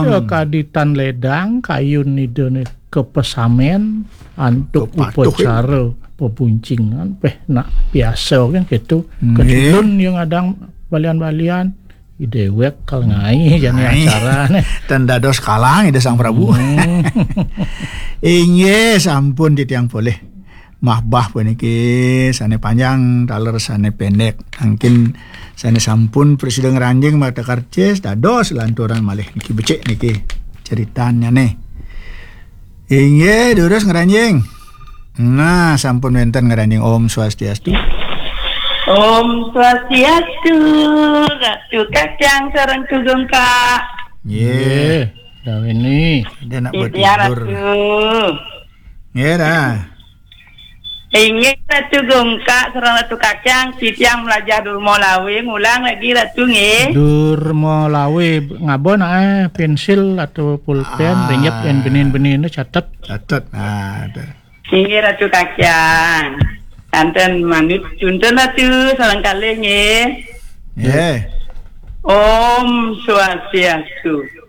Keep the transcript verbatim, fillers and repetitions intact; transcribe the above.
Sakadi tan ledang kayun Ida nika pesamen antuk upacara pebuncingan, péh nak biasa kan gitu. Nggih. Kecilun yang adang balian-balian, déwék kal ngai jani acara nih. Tan dados kalang Ida Sang Prabu. Inggih, sampun titiang polih. Mahbah puniki sané panjang, taler sané pendek. Mangkin sané sampun prasida ngranjing mata karcis, dados lanturan malih niki becik niki ceritannya nih. Inggih, durus ngranjing. Nah, sampun wénten ngranjing. Om Swastiastu. Om Swastiastu, Ratu Kacang sareng Tugungka. Nggih. Nggih, Dawini. Dia nak buat tidur. Ratu. Nggih, dah. Inggih, Ratu Gungka sareng Ratu Kacang, titiang melajah Durma Lawe, ngulang lagi, Ratu, nggih. Durma Lawe, ngaba nak, eh, pensil atau pulpen, ringgit yén benin-benin tu catet. Catet. Ah, ada. Inggih, Ratu Kacang. Kanten manut cuntun, Ratu, sareng kalih, nggih. Nggih. Om Swastiastu.